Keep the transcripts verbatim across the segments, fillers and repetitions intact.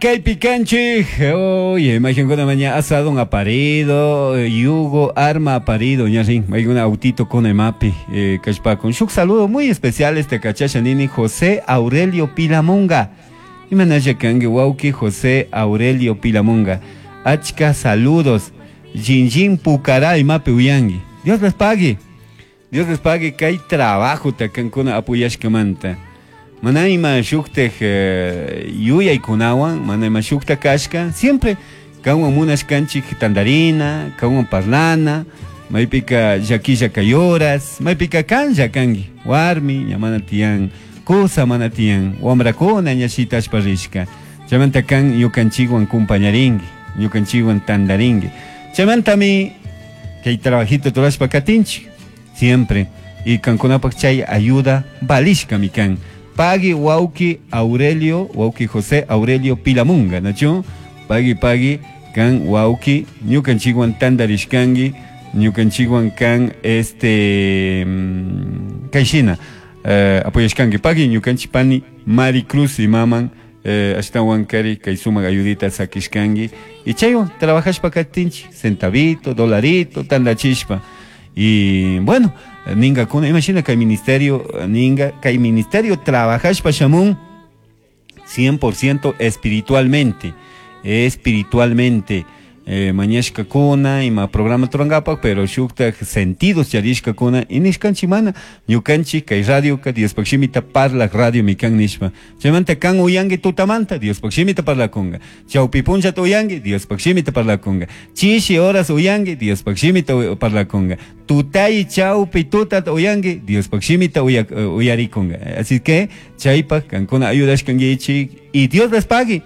Kaypi kanchik, oye, imaginkuna maña asado aparido, yugo, arma aparido, ñarin, mayguna autito con emapi, eh, kashpakun. Shuk saludo muy especial este kachasha nini José Aurelio Pilamunga. Imanalla kanki wawki José Aurelio Pilamunga. Achka saludos. Jinjin Pucará imapi uyangi. Dios les pague. Dios les pague kay trabajo takankuna apoyashkamanta. Mana ima shuktaj eh, yuyaykunawan, mana ima shukta kashka, siempre kanwan munashkanchik tandarina, kanwan parlana, maypika llakilla kayoras, maypika kan llakanki, warmi, ña mana tiyan, kusa mana tiyan, wamrakuna ña shitashpa rishka. Chaymanta kan ñukanchikwan kumpañarinki, ñukanchikwan tandarinki. Chaymantami kay trabajito turashpa katinchik, siempre. Y kankunapak chay ayuda valishkami kan. Pagui wawki Aurelio, wawki José Aurelio Pilamunga, ¿nacho? Pagui, pagui, kan wawki, ñukanchikwan tandarishkanki, ñukanchikwan kan este, mm, kayshina, eh, apoyashkanki. Pagui ñukanchik pani Mari Cruz imaman, eh, ashtawan kari kay sumak ayudita sakishkanki. Y chaywan trabajashpa katinchik, centavito, dolarito, tandachishpa. Y bueno, ninga kuna, imagina kay ministerio, ninga, kay ministerio trabajashpa shamun cien por ciento espiritualmente, espiritualmente. Eh, mañashka kuna, ima programa turangapak, pero shuktaj sentidos charishka kuna, y nishkanchi mana, ñukanchi kay radio ka Diospak shimita parlak radio mikan nishpa. Chaymanta kan uyangi tutamanta, Diospak shimita parlakunga. Chawpi punchata uyangi, Diospak shimita parlakunga. Chishi horas uyangi, Diospak shimita u-, parlakunga. Tutay chawpi tutata uyangi, Diospak shimita uya-, uyarikunga. Así que, chaypak kankuna ayudashkankichik, y Dios les pague.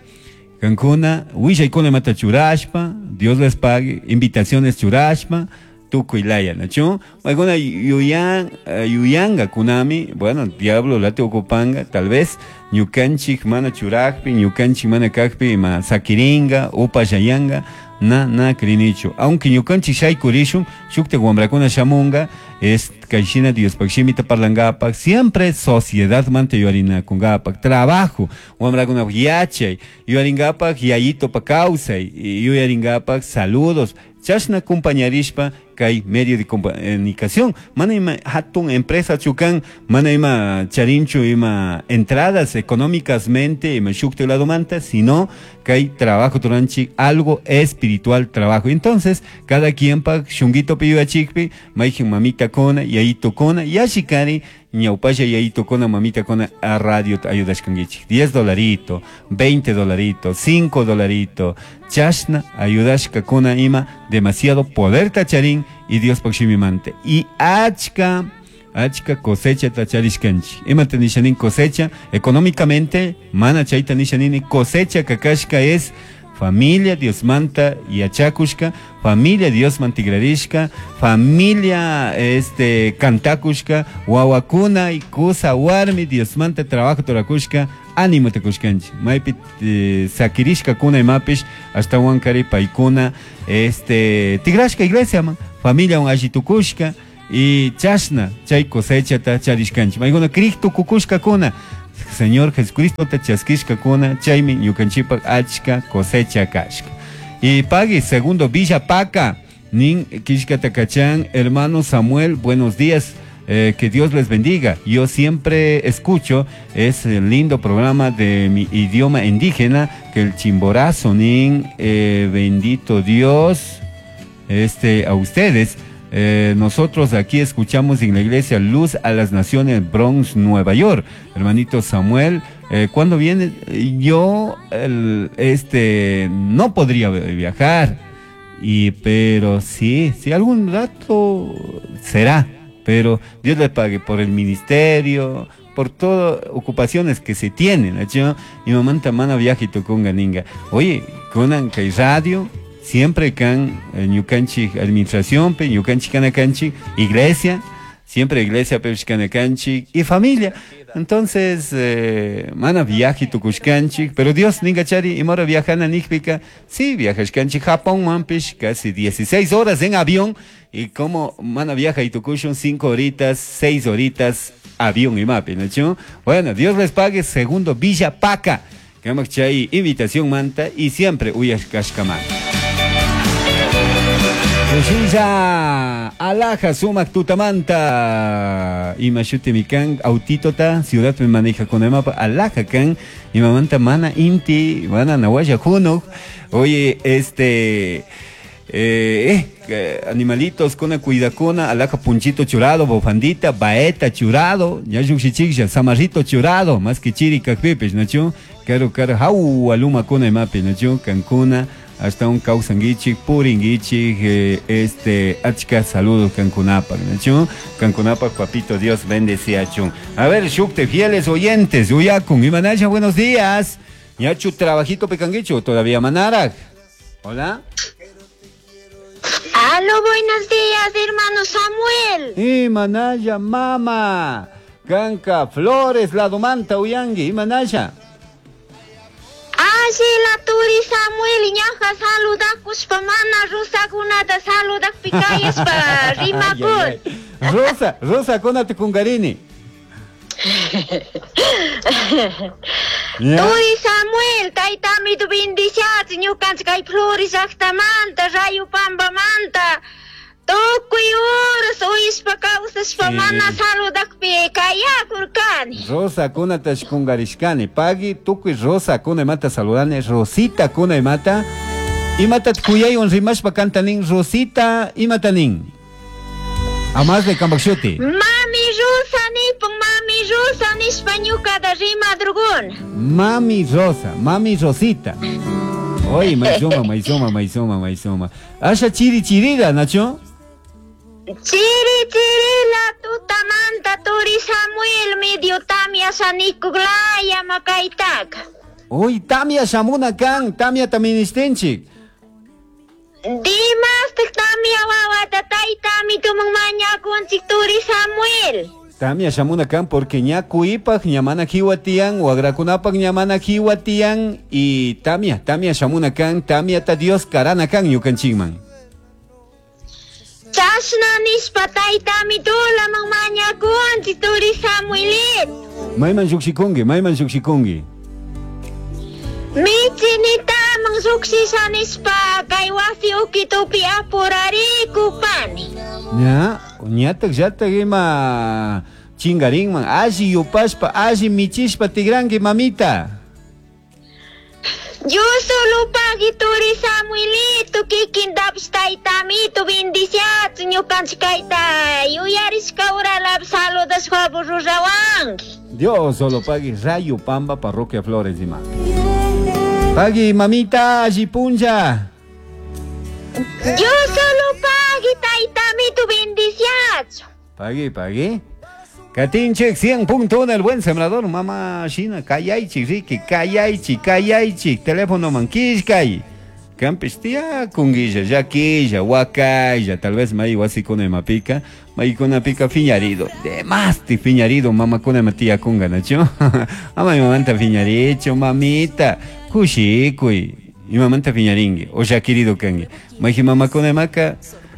Kankuna, willaykuna imata churashpa, Dios les pague, invitaciones churashpa, tukuy laya, ¿nachu? Alguna yuyan, eh, yuyanga kunami, bueno, diablo late ocupanga, tal vez ñukanchik mana churajpi, ñukanchik mana kajpi, ma sakiringa, upayayanga, na, na krinichu. Aunque ñukanchik shaykurishun, shukta wamrakuna shamunga, es kayshina Diospak shimita parlangapak, siempre sociedad manta yuarinakungapak, trabajo, wamrakuna yachay, yuaringapak yayito pa kawsay, yuaringapak saludos, chashna compañarishpa kay medio de comunicación, mana ima hatun empresa chukan, mana ima charinchu ima entradas económicas mente ima shukte lado manta, sino kay trabajo turanchi algo espiritual trabajo. Entonces, cada quien pa shunguito piyuachikpi, maijin mamita kona, yayito kona, yashikari, ñaupasha yayito kona, mamita kona, a radio ayudashkangichik. diez dolarito, veinte dolarito, cinco dolarito, chashna ayudashka kona ima, demasiado poder tacharín y Dios pakshimimante. Y achka, achka cosecha tacharishkanchi. Ima tanishanin cosecha, económicamente, mana chayta nishanini, cosecha kakashka es familia Dios manta y achakushka, familia Dios mantigrarishka, familia este cantakushka, wawakuna y kusa warmi Dios manta trabajo torakushka, ánimo te kushkanchi. Maypi, eh, sakirishka kuna y mapish, hasta wankari paikuna, este tigrashka iglesia man, familia un ashitukushka y chashna chay cosecha ta charishkanchi. Mayguna Cristo kukushka kuna. Señor Jesucristo te chaskishka kuna, chaymi ñukanchipak achka cosecha kashka. Y pagui segundo Villa Paca, nin kishka takachan, hermano Samuel, buenos días. Eh, que Dios les bendiga. Yo siempre escucho ese lindo programa de mi idioma indígena, que el chimborazo, nin, eh, bendito Dios, este, a ustedes. Eh, nosotros aquí escuchamos en la iglesia Luz a las Naciones, Bronx, Nueva York. Hermanito Samuel, eh, ¿cuándo viene? Yo, el, este, no podría viajar, y, pero sí, sí, algún rato será, pero Dios le pague por el ministerio, por todas ocupaciones que se tienen, ¿no? Mi mamá tamana viaje y tocó un ganinga. Oye, con que radio, siempre can, eh, ñukanchik administración, pe, ñukanchik kanakanchik, iglesia, siempre iglesia, pe, kanakanchik, y familia. Entonces, eh, mana viaje tukushkanchik, pero Dios ninga chari, imora viajana nikpika, sí, viajashkanchik Japón, mampish, casi dieciséis horas en avión, y como mana viaja y tukushun, cinco horitas, seis horitas, avión y mapi, ¿no? Bueno, Dios les pague, segundo Villa Paca. Kamak chay invitación manta y siempre uyashkashkamanta. Kushilla alaja sumak tutamanta ima shutimi kan autitota ciudad me maneja con emapa alaja kan imamanta mana inti mana nawaya junuk. Oye, este eh, eh, animalitos con cuidacuna alaja punchito churado bofandita baeta churado ya yuxichilla samarrito churado más que chiri kakpipes nachu caro caro jau aluma kuna emapi nachu cancuna hasta un causanguichi, puringuichi, eh, este, achka, saludos, Cancunapa, ¿no? Cancunapa, papito, Dios bendecía, chun. A ver, shukte, fieles oyentes, uyakun, imanaya, buenos días. Ñachu, trabajito pecanguicho, todavía manarak. Hola. Aló, buenos días, hermano Samuel. Imanaya, mama. Canca, Flores, la domanta, uyangui, imanaya. Ashila turi Samuel ñaja saludakuspa mana rosakunata saludakpi kayaspa rimakun. Rosa, Rosa kunata kungarini. Turi Samuel, taytami tu bendiciachi ñukanchik kay Flores llaqtamanta, Rayupambamanta. Tukuy uras uyishpa kawsashpa mana saludakpi kayakurkani. Rosa kunata shkungarishkani. Pagui tukuy Rosa kuna imata saludani. Rosita kuna imata. Imata kuyaywan rimashpa kantanin. Rosita imatanin. Amas de Kambakshuti. Mami Rosa nipun, mami Rosa nishpa ñukata rimadrukuna. Mami Rosa, mami Rosita. Oye, maizoma, maizoma, maizoma, maizoma. Asha chiri chirira, Nacho. Chiri chirila tutamanta turi Samuel medio tamia sanikuglaya makaitaka. Uy, tamia shamuna kan, tamia taministenchik. Dimastik tamia wawata taytami tumang mañakunchik turi Samuel. Tamia shamuna kan porque ña kuipaj ñamana jiwatian, wagrakunapaj ñamana jiwatian y tamia, tamia shamuna kan, tamia ta Dios karana kan ñukanchikman. Chashna nishpa taytami tulaman mañakunchik turi Samuelit. Mayman llukshikunki, mayman llukshikunki. Michinitaman llukshisha nishpa kay wasi ukitupi apurarikupani. Ña, ñatak llatak ima chingarinman, alli yupashpa, alli michishpa tigranki mamita. Yo solo pagui turi Samuelito, kikintapish taytamito bendiciachu ñukanchik kayta yuyarishka uralap saludashpa rurawanki. Dios solo pagui Rayo Pamba, Parroquia Flores ima. Pagui mamita, alli punlla. Yo solo pagui taytamito bendiciachu. Pagui, pagui. Katinchik cien punto uno, el buen sembrador, mamá Shina, kayaychik, Ricky, kayaychik, kayaychik, teléfono manquishkay. Campes tía, kunguilla, yaquilla, huacaya, tal vez may wasikuna mapika, maykuna pica fiñarido, de más ti fiñarido, mamá kuna matía kunga, nacho. Ama mi mamanta fiñaricho, mamita, kushikuy, mi mamanta fiñaringue, o ya querido kangue. Maji mamá kuna maca,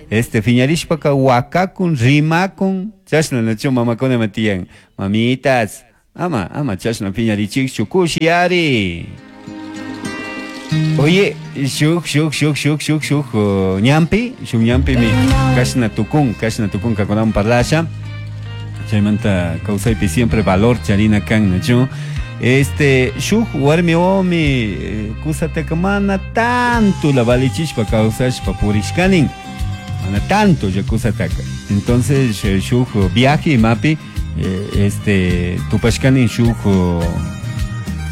este fiñarishpaka huacakun, rimakun, chashna nacho mamakuna matiyan. Mamitas, ama, ama chashna fiñarichikchu, kushiari. Oye, shuk, shuk, shuk, shuk, shuk, shuk, uh, ñampi, shuk ñampi mi kashna tukun, kashna tukun kakunawan parlasha. Chaymanta kawsaypi siempre valor charina kan, nacho. Este, shuk warmi omi, kusataka mana tanto la valichishpa kawsashpa purishkanin. Mana tanto ya kusataka. Entonces, shuk viaje mapi, este, tupashkanin shuk,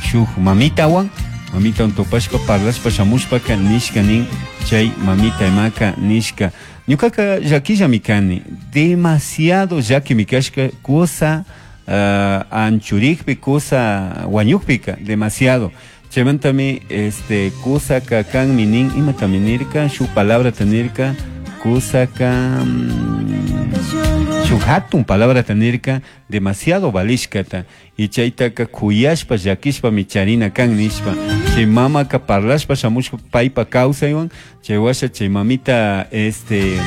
shuk mamitawan. Mamita tupashpa parlashpa shamushpaka nishkanin chay mamita imaka nishka. Ñukaka llakilla mikani, demasiado llaki mikashka kusa uh, anchurikpi, kusa wañukpika, demasiado. Chaymantami este kusaka kanmi nin, imatami nirka, shuk palabra tanirka, kusaka shuk hatun palabra tanirka, demasiado valishkata. Y chaytaka kuyashpa llakishpa micharina kan nishpa. Chay mamaka parlashpa shamushpa paypa kawsaywan, chay washa chay mamita este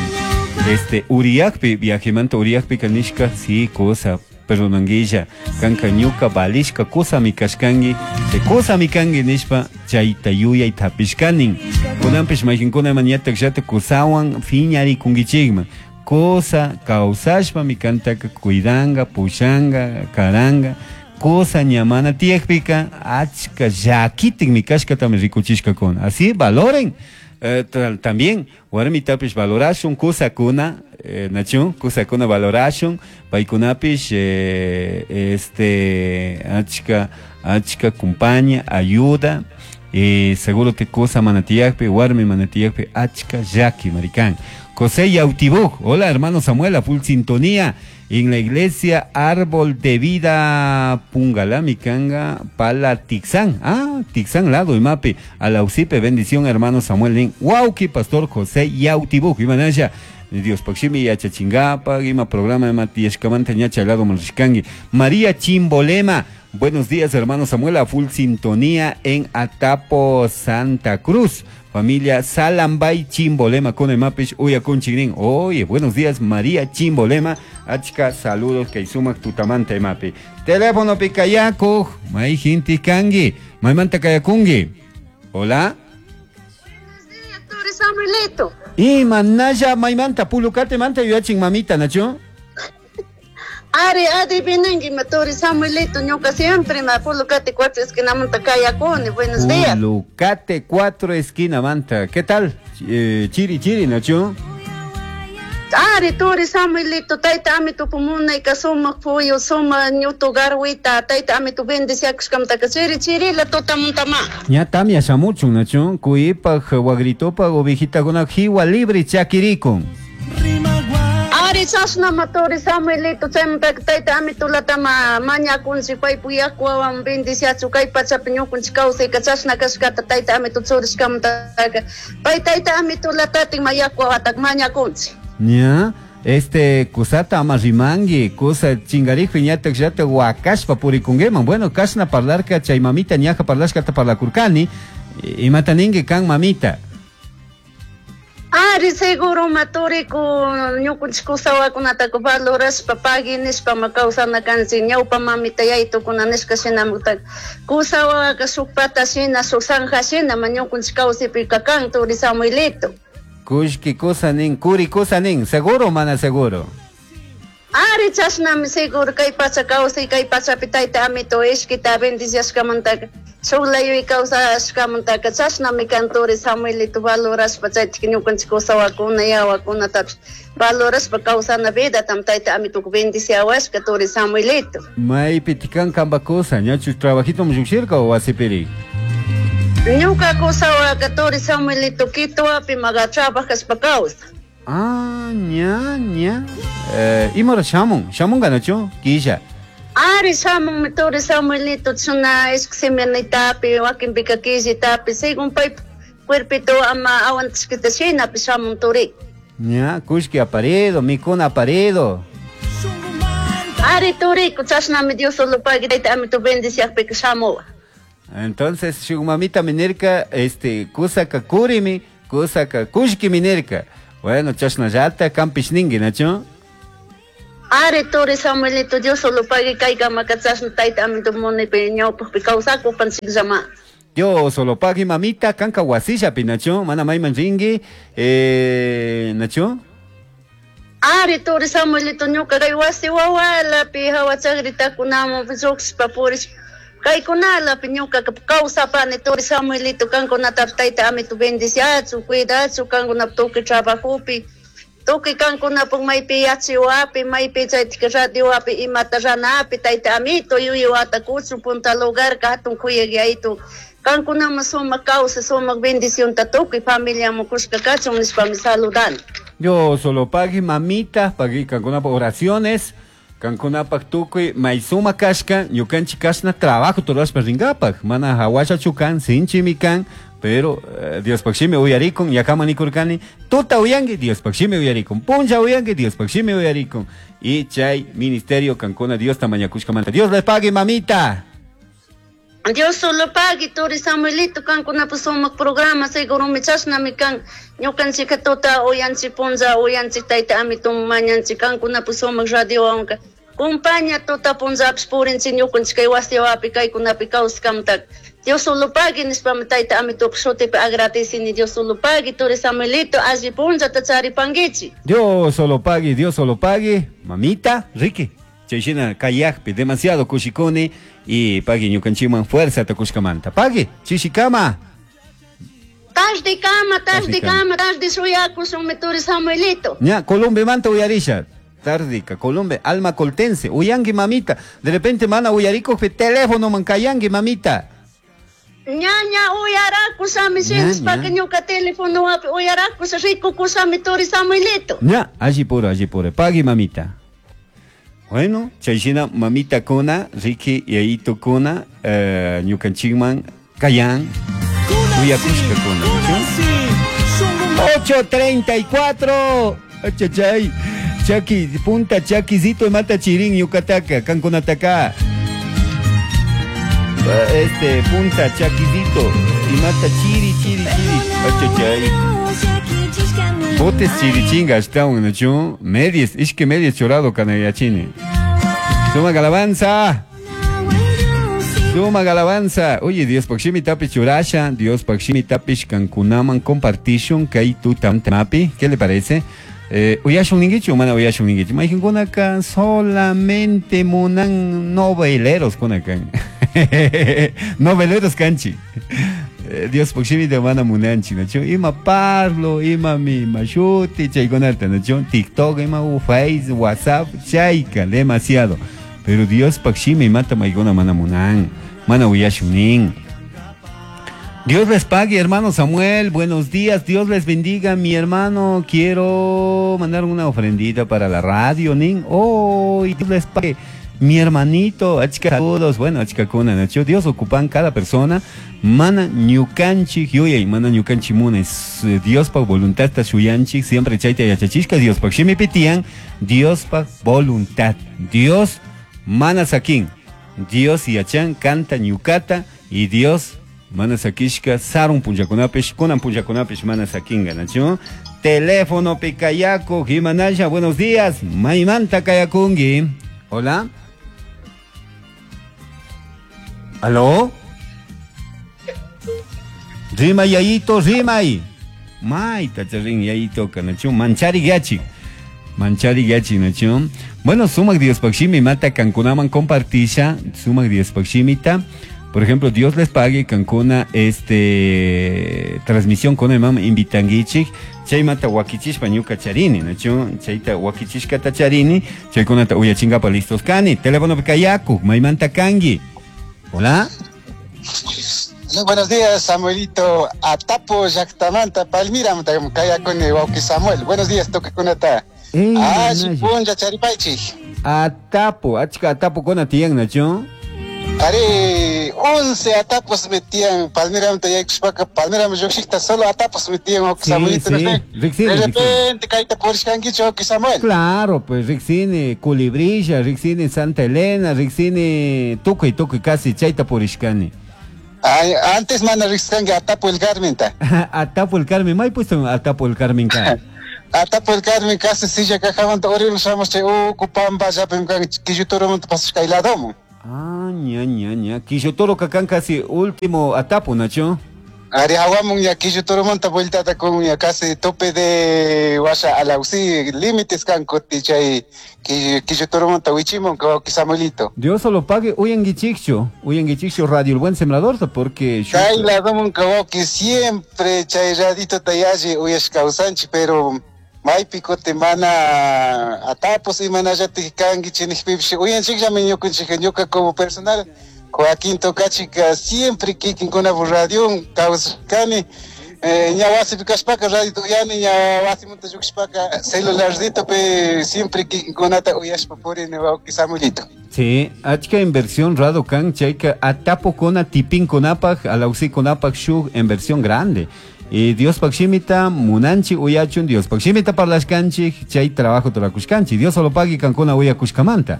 este uriyakpi viajemanta uriyakpika nishka, sí, cosa Perdonanguilla kanka ñuka valishka kusami kashkangi chay kusami kangi nishpa chayta yuyayta hapishkanin kunanpish mayqinkunaman ñatak llata kusawan phiñarikunkichikman kusa kawsashpami kantaka cuidanga pushanga karanga kusa ña mana tiyakpika achka llakitikmi kashkatami rikuchishkakuna así valoren. Eh, también warmitapish valorashun kusakuna eh, nachu kusakuna valorashun paykunapish eh, este achka achka kumpaña ayuda eh, seguro te kusa mana tiyakpi warmi mana tiyakpi achka llaki marikan. José Yautibuk, hola hermano Samuel, a full sintonía en la iglesia Árbol de Vida Pungalá, Mikanga, Pala Tixán, ah, Tixán lado y mapi, a la Usipe, bendición hermano Samuel Lin, Wauki, pastor José Yautibuk, Imanaya, Dios Paximi, Yachachingapa, Ima programa de Matías Camanta, Ñacha, lado Malriscangi, María Chimbolema, buenos días hermano Samuel, a full sintonía en Atapo, Santa Cruz. Familia Salambay Chimbolema con el mapish uya con chigrin. Oye, buenos días María Chimbolema. Achka, saludos que sumak tutamante mapi. Teléfono picayaco, mai jinti kangi, mai manta kayakungi. Hola. Buenos días, Turi Samuelito. Y manaya maimanta pulucate manta yachin mamita, Nacho. Ari, adivinengi, Turi Samuelito, ñuka siempre ma Pulucate cuatro esquina manta kayakuni. Buenos días. Pulucate cuatro esquina manta. ¿Qué tal? Eh, chiri chiri, Nacho. Ari, Turi Samuelito, tayta amito pumunayka sumaq puyu, sumaq ñutu garwita, tayta amito bendiciakushkamtaka chiri chirila tutamuntama. Ña tamia shamuchun, Nacho. Kuyipaj, wagritopaj, ovejitakuna jiwa libre chakirikun. Ari chashnama Turi Samuelito, chaymantaka tayta amitulatama mañakunchik paypuk yakuwawan bendiciachu kay pachapi ñukunchik kawsayka chashna kashkata tayta amito churishkamantaka pay tayta amitulatatatik ma yakuwawataka mañakunchik. Ña, este kusata ama rimangi, kusa chingarijpi ñatak llata wakashpa purikunguiman. Bueno, kashna parlarka chay mamita ñaja parlashkata parlakurkani, imata ninki kan mamita. Ari seguro maturiku ñukunchik kusawakunataka valorashpa pagui nishpa ma kawsana kanchik ñawpa mamita yaytukuna nishka shinamutaka kusawaka shuk pata shina shuk zanja shina ma ñukunchik kawsaypika kan Turi Samuelito. Kushki kusa nin, kuri kusa nin, seguro mana seguro. Ari chashnami seguro kay pacha kawsay kay pachapi tayta amito ishkita bendiciashkamantaka shuk layuy kawsashkamantaka chashnami kan Turi Samuelito valorashpa chaytik ñukanchik kusawakuna yawakunatapish valorashpa kawsana vidatam tayta amituka bendiciawashka Turi Samuelito. Maypi tikan kanpa kusa, ñachu trabajito lluqshirka o wasipiri? Ñuka kusawaka Turi Samuelito Quitoapi maga trabajashpa kawsa. Ah, ña, ña. Eh, imara shamun, shamunga nachu, killa. Ari shamunmi Turi Samuelito chuna ishki semanitapi, wakinpika killitapi, según pay cuerpito ama aguantashkita shinapi shamun turi. Ña, kushki aparedo, mikuna aparedo. Ari turiku chashnami Dios solo pagui tayta amito bendiciakpika shamuwa. Entonces, shuk mamita minirka, este, kusaka kurimi, kusaka kushki minirka. Bueno, chashnallata kampish ningi, Nacho. Ari Turi Samuelito, Dios solo pagui kaykamaka chashna tayta amito munipi ñawpaqpi kawsakupanchikllama. Dios solo pagui mamita, kanka wasillapi, Nacho, mana mayman ringi, eh, Nacho. Ari Turi Samuelito, ñuka kay wasi wawalapi hawa chakritakunaman lluqshpa purishpa kaykunalapi ñukaka kawsapani Turi Samuelito kankunatapish tayta amito bendiciachu cuidachu kankunapi tukuy trabajopi tukuy kankunapuk maypi yachaywaapi maypi chaytika radiowapi imata ranapi tayta amito yuyawata kuchun punta lugarka hatun kuyaq yaytu kankunaman sumaq kawsay sumaq bendicionta tukuy familiaman kushka kachun nishpami saludani. Yo solo pagui mamita, pagui kankunapuk oraciones, kankunapak tukuy maysuma kashka, ñukanchik kashna trabajo turashpa rinkapak, mana hawashachu kan, sinchimi kan, pero eh, Diospaq shimi uyarikun, yakama nikurkani, tuta uyanki, Diospaq shimi uyarikun, punlla uyanki, Diospaq shimi uyarikun. Y chay ministerio kankuna Diosta mañakushkamanta. Dios les pague, mamita. Dios solo pagui, Turi Samuelito, kankunapuk sumaq programa, segurumi chashnami kan, ñukanchika tuta uyanchik punlla uyanchik tayta amito mañanchik kankunapuk sumaq radiowanka. Compaña tuta punllapish purinchik ñukanchik kay wasiwapi kaykunapi kawskamtaka. Dios solo pagui nishpami tayta amitupak shutipi agradecini Dios solo pagui turi Samuelito alli punllata charipankichik. Dios solo pagui, Dios solo pagui, mamita, Ricky. Chayshina kayakpi demasiado kushikuni y pagui ñukanchikman fuerza takushkamanta. Pagui, chishikama. Tarde kama, tarde kama, tarde shuyakushunmi turi Samuelito. Ña, Colombia manta uyarisha. Tardica, Colombia, alma coltense, uyangi mamita. De repente mana uyariko teléfono man kayangi mamita. Ñaña uyarakushami shinashpaka ñuka teléfono wapi uyarakusha rikukushami turi Samuelito. Ña, allí puro, allí puro. Pagui mamita. Bueno, chayshina mamita kuna, Ricky yayito kuna, eh, ñukanchikman kayan, uyakushka kuna. ocho treinta y cuatro. Achachay. Chaki, punta chaquisito mata chirín yucataca, cancunataca. Este, punta chaquisito y mata chiri, chiri, chiri. Achachay. Botes chirichinga, hasta un nocho. Medies, ishke medies chorado canayachini. Suma galabanza. Suma galabanza. Oye, Dios pakshimi tapi churasha, Dios pakshimi tapish cancunaman compartishun kay tutamapi. ¿Qué le parece? Eh, uyashun ninguichu, mana uyashun ninguichu. Maijinkunaka solamente munan noveleros kunakan. Noveleros kanchi. Eh, Dios pakshimi mana munanchi, nacho. Ima parlo, ima mi mashuti, chaykunata, nacho. TikTok, ima Face, WhatsApp, chayka, demasiado. Pero Dios pakshimi mata maiguna mana munan. Mana uyashun nin. Dios les pague, hermano Samuel. Buenos días, Dios les bendiga, mi hermano. Quiero mandar una ofrendita para la radio, nin. Oh, Dios les pague, mi hermanito. Achka saludos. Bueno, achka kuna, nacho. Dios ocupan cada persona. Mana ñukanchi, yuyay, mana ñukanchi munes. Dios pa voluntad ta shuyanchi. Siempre chayta yachachishka. Dios pa shimi pitian. Dios pa voluntad. Dios mana sakin. Dios yachan canta ñukata y Dios mana sakishka sarun punllakunapish kunan punllakunapish mana sakinga, nacho. Teléfono picayaco, Jimanaya, buenos días. Maimanta kayakungi. Hola. ¿Aló? Rima yayito, rimay. Maita charin yayito kanacho. Manchari gachi. Manchari gachi, nacho. Bueno, sumak Dios pakshimi mata kankunaman compartisha. Sumak Dios pakshimita. Por ejemplo, Dios les pague Cancuna este transmisión con el mam invitanguichik chay mata wakichishpa ñuka charini, nacho chayta wakichishkata charini, chaykunata uyachingapa listos kani, teléfono pikayaku, maymanta kangi. Hola. Muy buenos días, Samuelito. Atapo llaqtamanta Palmira kayakuni wawqi Samuel. Buenos días, tukakunata. Ah, punlla charipaychik. Atapo, achka atapo kuna tiyan, nacho. Ari, once atapos metían Palmira yaykushpaka Palmira lluqshikta solo atapos metían wawqi Samuelito. Sí, sí. De repente kayta purishkankichu wawqi Samuel. Claro, pues riqsini Culibrilla, riqsini Santa Elena, riqsini tukuy tukuy casi chayta purishkani. Ay, antes mana riqskanki Atapo el Carmenta. Atapo el Carmen, may puesto Atapo el Carmen ka. Atapo el Carmen casi silla kajamanta urim shamush chay uku pampa llapim kan Quillutoromanta pasashka ladomun. Ah, ña, ña, ña. Quillotoro kakan casi último atapo, Nacho. Ari hawamun ya Quillutoromanta vueltata con ya casi tope de washa alausi límites kan kuti chay Quillutoromanta wichimon ka Samuelito. Dios solo pague uyanguichikcho, uyanguichikcho Radio El Buen Sembrador, porque chay ladomun que siempre chay radito tayalle uyash kawsanchi, pero maypi kuti mana atapos y mana llatik kanki chinikpipish uyanchikllami ñukanchik ñuka como personal Joaquín Tocachika siempre kikinkuna radion kawsashkani eh, ña wasipi kashpaka radio uyani ña wasimanta lluqshpaka celularcitopi siempre kikinkunata uyashpa purini wawqi Samuelito. Sí, achka inversión rado kan chayka atapo kona tipin konapaj alausi konapaj shuk inversión grande. Y Dios pakshimita munanchi uyachun, Dios pakshimita parlashkanchik, chay trabajo turakushkanchik. Dios solo pagui kankuna uyakushkamanta.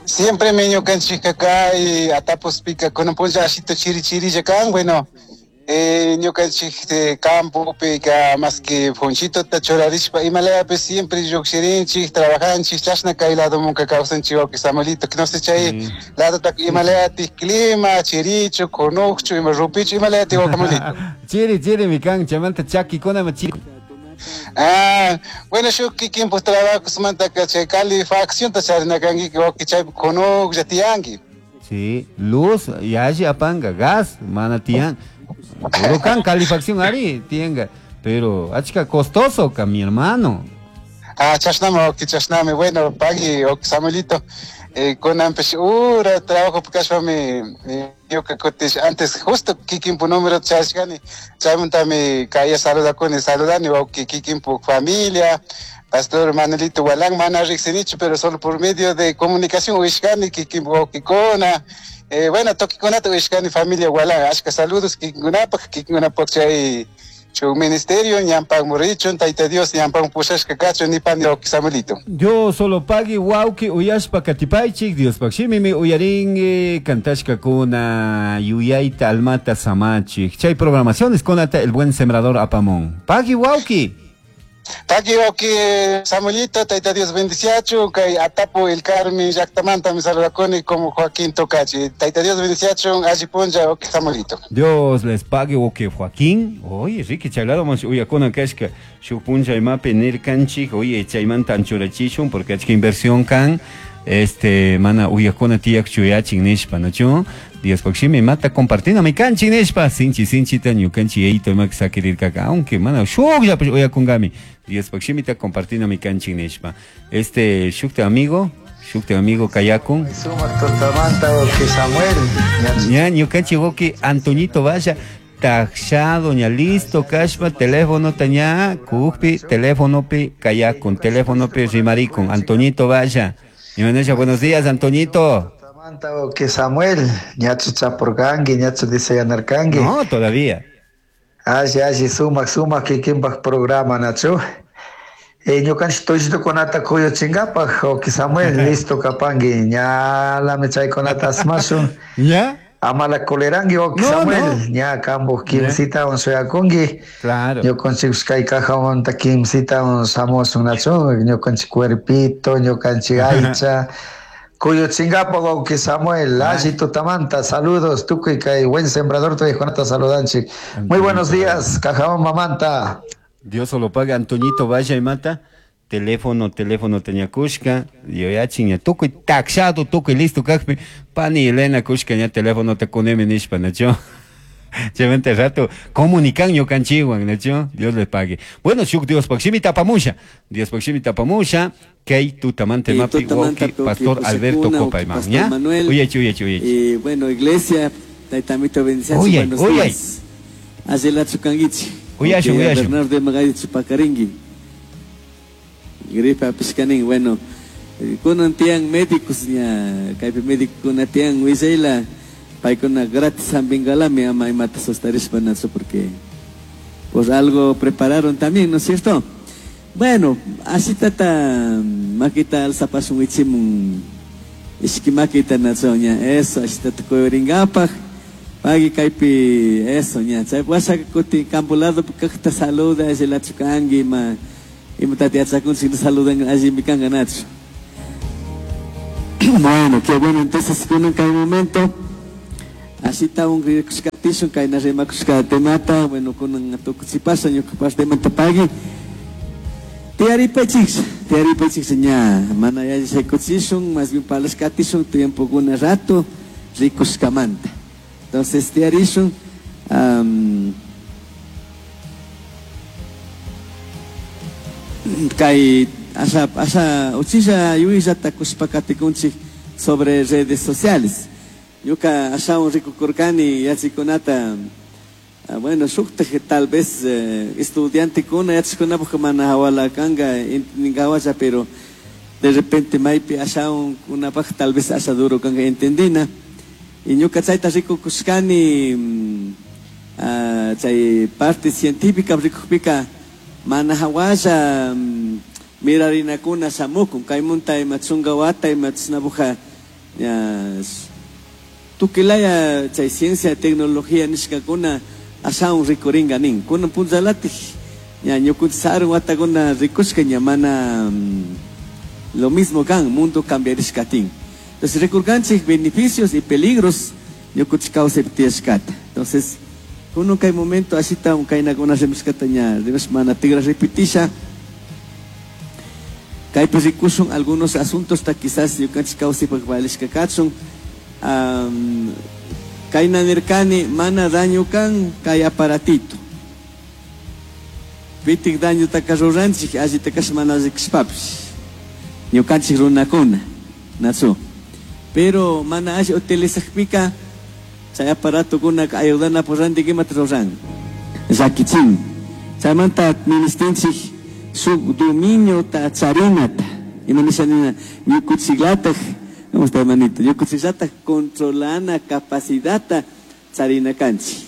Siempre me ñukanchik kay atapos pika kunan punlla ashito chiri chirilla kan, bueno, Eh, ñukanchik campopi ka más que ponchito churarishpa imalayapi siempre llukshirinchik trabajanchik chashna kay lado munka kawsanchik wawqi Samuelito no sé chay lado tak imalayati clima chirichu kunukchu ima rupichu imalayati wawqi Samuelito. Chiri chiri mi kan chaymanta chakikuna chiri. Ah, bueno, shuk kikinpuk trabajosmantaka chay calefaccionta charinakanki wawqi chaypi kunuklla tiyanki. Sí, luz yalli apanga gas mana tiyan. Huracán, calefacción ari, tienga, pero achka costoso ka mi hermano. Ah, chashnami, wawqi, chashnami, bueno, pagui, wawqi Samuelito, eh, kunanpish ura trabajo kashpami ñuka kutish antes justo kikinpu número chashkani, chaymantami kaya saludakuni, saludani wawqi kikinpu familia, Pastor Manuelito Gualán, mana riqsinichu, pero solo por medio de comunicación uyashkani kikinpu wawqikuna. Eh, bueno, tokikunata uyashkani familia Gualán, ashka saludos kikinkunapaq, kikinkunapaq chay chu ministerio, ñampaq murichun, Tayta Dios ñampaq pushashka kachun, nipani wawqi Samuelito. Dios solo pagui wawqi uyashpa katipaychik, Diospaq shimimi uyarinki, kantashkakuna yuyayta almata samachik. Chay programaciones kunata el buen sembrador apamón. Pagui wawqi. Pagui wawqi Samuelito, Tayta Dios bendiciachu, kay Atapu el Carmen llaqtamanta mi saludakuni como Joaquín Tocachi. Tayta Dios bendiciachu, alli punlla wawqi Samuelito. Dios les pague wawqi Joaquín. Oye, Ricky chaylado mas uyakuna kashka shuk punlla imapi nirkanchik, oye, chaymanta anchurachishun porque achka inversión kan este mana uyakuna tiyak chuyachin nishpa, ¿no? Diospaq shimi mata compartina mi kanchi nishpa sinchi sinchita ñukanchi yayito ima sakirirkaka aunque mana shukllapish uyakungami Diospaq shimita compartina mi kanchi nishpa. Este shukta amigo, shukta amigo kayakun. Sumaq tutamanta wawqi Samuel. Ña ñukanchi wawqi Antoñito vaya taxado ña listo kashpa teléfono taña kukpi teléfonopi kayakun teléfonopi rimarikun Antoñito vaya. Imanesha, buenos días Antoñito. Que Samuel, ñachu chapurkanki, ñachu diseñarkanki. No, todavía. Alli, alli, sumaq, sumaq kikinpaq programa, nachu. Eh, ñukanchik tullitukunata kuyuchinkapaq, wawqi Samuel, listo kapanki, ñalami chaykunata asmashun. ¿Ya? Amala kuliranki, wawqi No, Samuel, no. ña kampuq kimsitawan suyakunki. Claro. Ñukanchik kay kajamanta kimsitawan shamushun, nachu. Ñukanchik cuerpito, ñukanchik aycha. Kuyuchingapa wawqi Samuel, alli tutamanta, saludos, tukuy kay buen sembrador tuykunata saludanchik. Muy buenos días, Cajabamba mamanta. Dios solo paga, Antoñito vaya y mata. Teléfono, teléfono tenía kushka, yoyachin ya tukuy taxado, tukuy listo kajpi, pani Elena kushka ya teléfono te kunemi nishpa, nacho. Chaymanta rato comunican ñukanchikwan, nacho. Dios les pague. Bueno, shuk Diospaq shimi tapamusha. Diospaq shimi tapamusha. Kay tutamanta mapi wawqi Pastor Alberto Copayman, ¿ya? Uyachi, uyachi, uyachi. Y bueno, iglesia, taytamito bendiciachu, buenos días. Allilachu kankichik. Uyashu, uyashu. Bernardo Magayi Chupakarinki. Gripe apishkanin, bueno, kunan tiyan médicos ña, kaypi médicokuna tiyan willayla, paykuna gratis hampinkalami ama imata sostarishpa nachu porque por algo prepararon también, ¿no es cierto? Bueno, así tata makita alzapasun wichimun ishki makita nachu ña, eso, así tata kuyurinkapak, pagui kaypi eso ña, chay washa kutin campo lado kaqta saluda, allilachu kanki ima imatata yachakunchik saludan allimi kanka nachu. Bueno, qué bueno, entonces kunan kay momento así está un rikushkatishun kayna rimakushka temata, bueno, kunan tukuchipasha ñukapash temata pagui. Tiaripaychik, tiaripaychik ña, mana yalli shaykuchishun, más bien parlashkatishun tiempo kuna rato rikushkamanta. Entonces tiarishun, um, kay asha asha uchilla yuyllata kushpakatikunchik sobre redes sociales. Ñuka ashawan rikukurkani yachikunata, bueno, shuktaj tal vez eh, estudiantekuna yachajkunapaj mana hawala kanka entendinkawacha, pero de repente maypi ashawan kunapaj tal vez asha duro kanka entendina. Y ñuka chayta rikukushkani, uh, chay parte científica rikukpika mana hawalla um, mirarinakuna shamukun kaymunta ima chunka wata ima chashnapuja ya tukilaya chay ciencia tecnología nishkakuna ashawan rikuringa nin. Kunan punllalatij ña ñukunchik sarun watakuna rikushka ña mana lo mismo kan, mundo cambiarishkatin. Entonces rikurkanchik beneficios y peligros ñukunchik kawsaypi tiyashkata. Entonces kunan kay momento ashita kaynakuna rimashkata ña rimash mana tigra repitisha. Kaypi rikushun algunos asuntos ta quizás ñukanchik kawsaypaq valishka kachun. Um, kayna nirkani mana daño kan kay aparatito. Pitik daño taka ruranchik allita kash mana alli kashpapish. Ñukanchik runakuna, nachu. Pero mana alli utilizakpika chay aparato kuna ayudana por ranti imata ruran. Llakichin. Chaymanta ministinchik shuk dominio ta charinata. Ima nisha nina ñukuchiklataj, ¿cómo está, hermanito? Ñukuchiklataj controlana capacidad charina kanchik.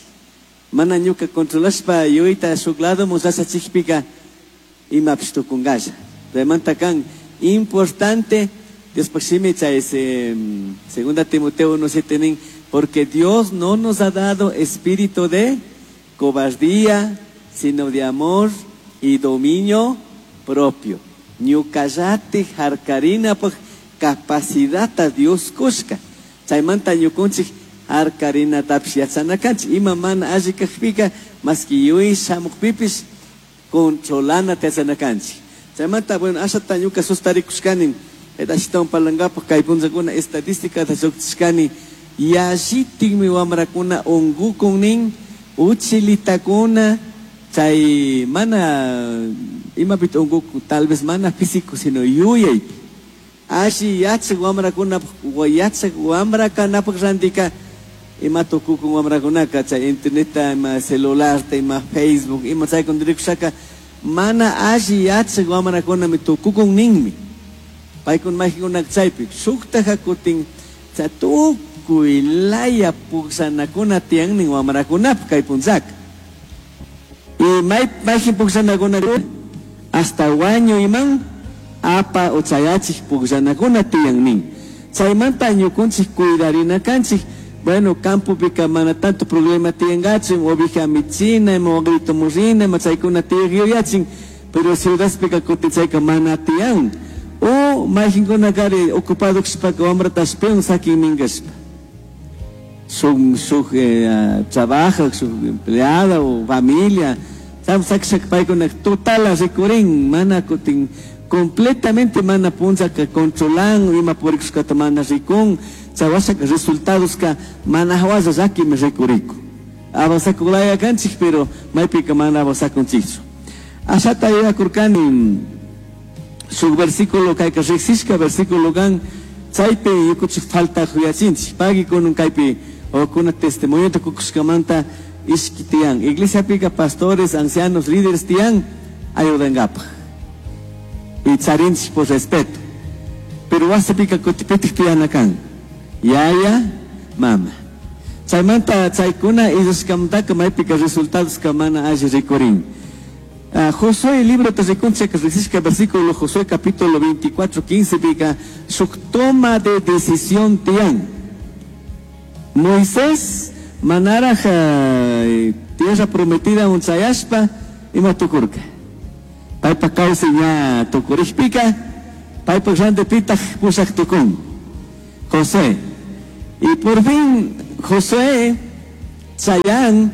Mana ñuka controlashpa yuyta shuk lado musasachikpika imapish tukunkalla. Chaymanta kan importante, Dios shimi chay ese, segunda Timoteo uno siete nin, porque Dios no nos ha dado espíritu de cobardía, sino de amor y dominio propio. Ñukallati harkarina paj capacidad a Dios kushka. Chaymanta ñukunchik harkarina tapish yachana kanchik. Ima mana alli kajpika, maski yuy shamukpipish controlana yachana kanchik. Chaymanta, bueno, ashata ñuka sustarikushkani, eta ashitawan parlankapaj kay punllakuna estadística ta lluqchishkani, yallitikmi wamrakuna unkukun nin, uchilitakuna, chay mana imapita unkukun, tal vez mana físico, sino yuyaypi. Alli yachak wamrakunapaj, yachak wamrakanapaj rantika, ima tukukun wamrakunaka, chay internetta, ima celularta, ima Facebook, ima chaykuna rikushaka, mana alli yachak wamrakunami tukukun ninmi. Paykuna mayqinkunaka chaypi shuktaja kutin chay tukuy laya pukshanakuna tiyan nin wamrakunapaj kay punllaka. Y may mayqin pukshanakuna hasta wañuyman apa o chayachik pukshanakuna tiyan nin. Chaymanta ñukunchik cuidarina kanchik. Bueno, campopika mana tanto problema tiyankachu, ovija michina, ima wagrito murina, ima chaykuna tiyaq yuyachin, pero ciudadpika kutin chayka mana tiyan. O mayqinkuna kari ocupado kashpaka wamrata ashpiwan sakin minkashpa. Shuk, shuk, eh, trabaja, shuk empleada o familia, sakshaka paykuna total rikurin, mana kutin completamente mana punllaka controlan, ima purikushkata mana rikun, chawashaka resultados ka mana hawalla llakimi rikuriku. Avanzakulaya kanchik, pero maypika mana avanzakunchikchu. Ashata yuyakurkani shuk versículo kayka riqsishka versículo kan, chaypi ñukunchik falta yuyachinchik. Pagui kunun kaypi kuna testimonio kukushkamanta ishki tiyan. Iglesiapika pastores, ancianos, líderes tiyan ayudankapaj. Y charinchik por respeto. Pero wasipika kutipitik tiyana kan. Yaya, mama. Chaymanta chaykuna illashkamantaka maypika resultados ka mana alli rikurin. Uh, Josué, libro te rikunchik riqsishka versículo Josué capítulo veinticuatro, quince pika shuk toma de decisión tiyan. Moisés manaraj uh, tierra prometida unchayashpa ima tukurka. Paypa kawsay ña tukurikpika, paypa randipitaj pushaq tukun. José. Y por fin Josué chayan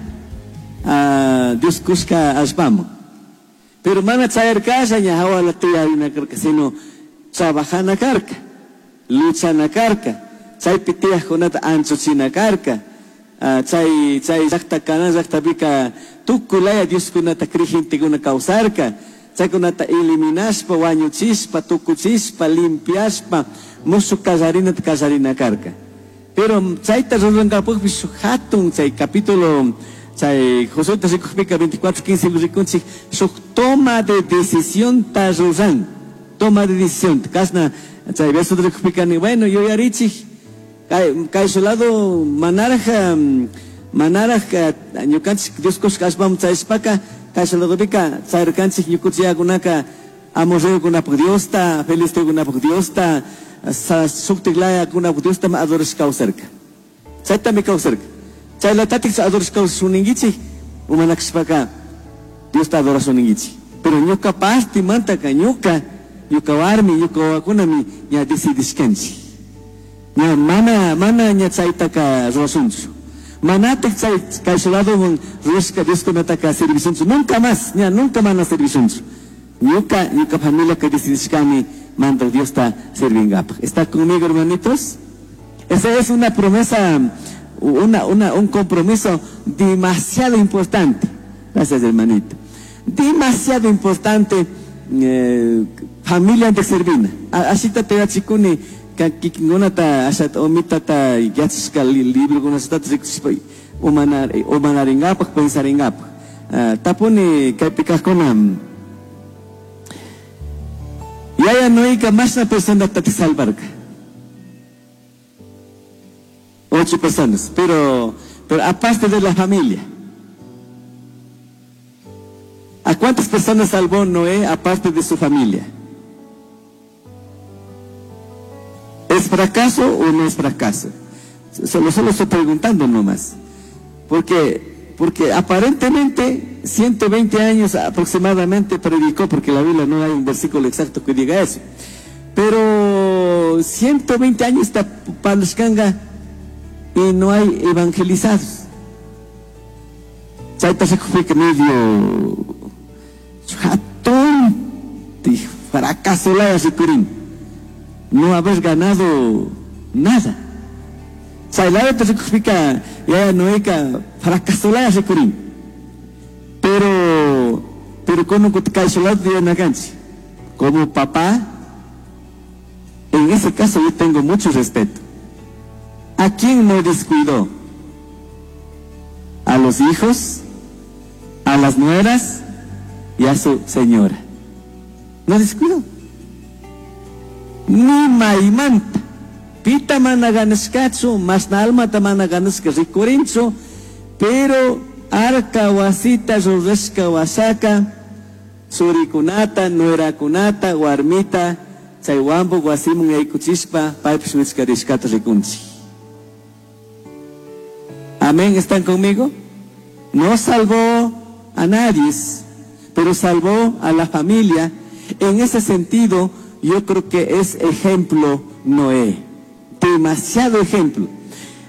a Dios kushka allpaman. Pero mana chayarkasha ña hawala tiyarina karka, sino trabajana karka, luchana karka, chaypi tiyajkunata anchuchina karka, uh, chay chay llaqta Canaán llaqtapika tukuy laya Dioskunata creyentes kawsarka, chaykunata eliminashpa, wañuchishpa, tukuchishpa, limpiashpa, mushuq kallarinata kallarina karka. Pero chayta rurankapaqpis shuk hatun chay capítulo chay Josué rikukpika veinticuatro, quince rikunchik shuk toma de decisión ta ruran, toma de decisión. Kasna chay verso rikukpika ni bueno yuyarichik kay kay su lado manaraj manaraj ñukanchik Dios kushka allpaman chayashpaka kay su ladopika chayrkanchik ñukunchik amorreokunapaq Diosta, filisteokunapaq Diosta, shuktiklayakunapaq Diosta adorashka kawsarka. Chaytami kawsarka. Chaylatatik adorashka kawsashunninkichik, Umanakshpaka Diosta adorasun ninkichik. Pero ñuka parte mantaka ñuka, ñuka warmi, ñuka wawakunami ña decidishkanchik. Ña mana, mana ña chaytaka rurasunchu. Manatik chay kay ladoman rurashka Dioskunataka servishunchu. Nunca más, ña nunca mana servishunchu. Ñuka, ñuka familia que decidishkami mandaj Diosta servingapak. ¿Está conmigo, hermanitos? Esa es una promesa, una, una, un compromiso demasiado importante. Gracias, hermanito. Demasiado importante, eh, familia de servina. Así te yachikuni, kikinkunata ashat omitata yachashka libro kunasata umanar umanaringapak pensaringapak. Tapuni kaypi kajkuna Yaya Noeka mashna persona te salvarka. Ocho personas, pero, pero aparte de la familia. ¿A cuántas personas salvó Noé aparte de su familia? ¿Es fracaso o no es fracaso? Solo, solo estoy preguntando nomás. Porque, porque aparentemente ciento veinte años aproximadamente predicó, porque la Biblia no hay un versículo exacto que diga eso. Pero ciento veinte años está Palashkanga y no hay evangelizados. Chayta se medio jatón fracaso la ricurin. No haber ganado nada. Chaylaya te ricupica ya no hay fracaso la ricurin. Pero pero con un como papá, en ese caso yo tengo mucho respeto. ¿A quién no descuidó? A los hijos, a las nueras y a su señora. No descuidó. Ni maimanta. Pita mana ganashkachu, masna almata mana ganashka rikurinchu, pero arka wasita rurashka wasaka, surikunata, nuerakunata, warmita, chay wampu wasimun yaykuchishpa, paypish wichkarishkata rikunchik. Amén, ¿están conmigo? No salvó a nadie, pero salvó a la familia. En ese sentido, yo creo que es ejemplo Noé. Demasiado ejemplo.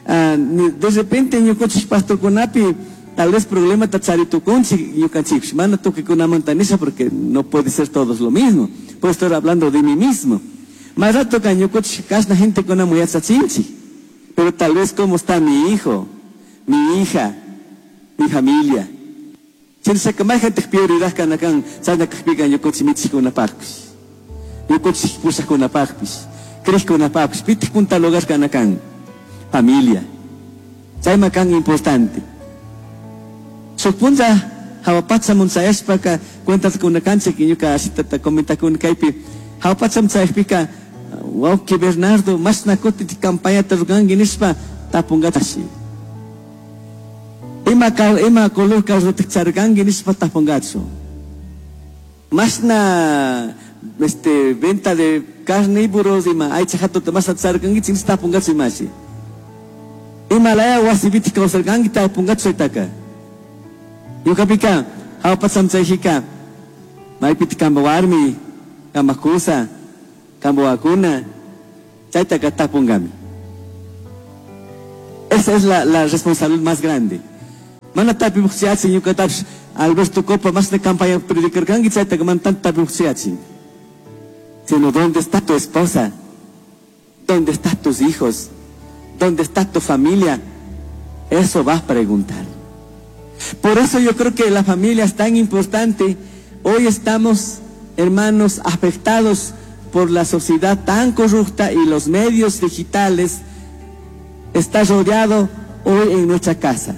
Uh, de repente, ñukanchik pastorkunapi, tal vez problema tacharitukunchik ñukanchikpish. Mana tukuy porque no puede ser todos lo mismo. Puedo estar hablando de mí mismo. Más rato que ñukanchik kashna gente kuna yachachinchik. Pero tal vez cómo está mi hijo, mi hija, mi familia. Chinshaka may gente prioridad kanakan, chayna kajpika ñukanchik michikkunapaqpish. Ñukanchik pushaqkunapaqpish, creqkunapaqpish, pitaq punta lugar kanakan, familia. Chayma kan importante. Shuk punlla hawa pachamun chayashpaka cuentas kunakanchik ñuka ashitata comentakuni kaypi hawa pachamun chayashpika wawqi Bernardo mashna kuti campañata ruranki nishpa tapungachashi. Ima ima color carrota charganki nishpa tapungachu. Mashna este venta de carnívoros ima aycha hatuta mashna charganki nishpa tapungachu imashi. Ima laya wasipiti kawsarkanki tapungachu chaytaka. Ñukapika hawa pacham chayjika maypiti kamba warmi, kamba kusa, kamba wakuna, chaytaka tapungami. Esa es la, la responsabilidad más grande. Mana tapimuqchiachin ñuqatapish Alberto Copa más de campaña predicarkanki chaytaka mana tanto tapimuqchiachin. Sino ¿dónde está tu esposa? ¿Dónde están tus hijos? ¿Dónde está tu familia? Eso vas a preguntar. Por eso yo creo que la familia es tan importante. Hoy estamos, hermanos, afectados por la sociedad tan corrupta y los medios digitales. Está rodeado hoy en nuestra casa,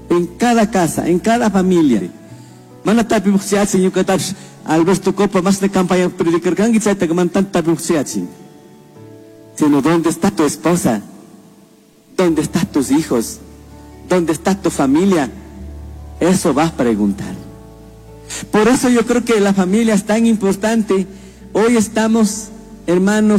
en cada casa, en cada familia. Mana tapimuqchiachin ñuqatapish Alberto Copa más de campaña predicarkanki chaytaka mana tanto tapimuqchiachin. Sino ¿dónde está tu esposa? ¿Dónde están tus hijos? ¿Dónde está tu familia? Eso vas a preguntar. Por eso yo creo que la familia es tan importante. Hoy estamos, hermanos,